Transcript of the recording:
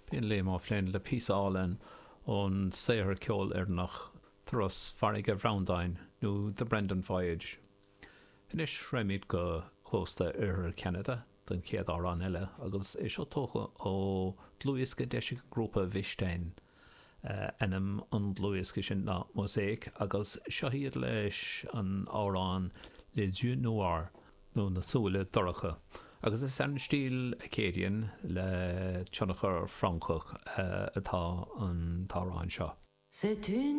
B'in Liam Ó Floinn le píosa álainn ón saothar ceoil Éireannach Turas Farraige Bhreandáin nó The Brendan Voyage. Anois raghaimid go cósta oirthear Cheanada don chéad amhrán eile agus é seo tógtha ó dhlúthdhiosca a d'eisigh an grúpa Wistin. Ainm an dlúthdhiosca sin ná Mosaic agus seo iad leis an amhrán Les Yeux Noirs nó Na Súile Dorcha agus is ar an stíl Acadian le tionchar Francach atá an t-amhrán seo. C'est une.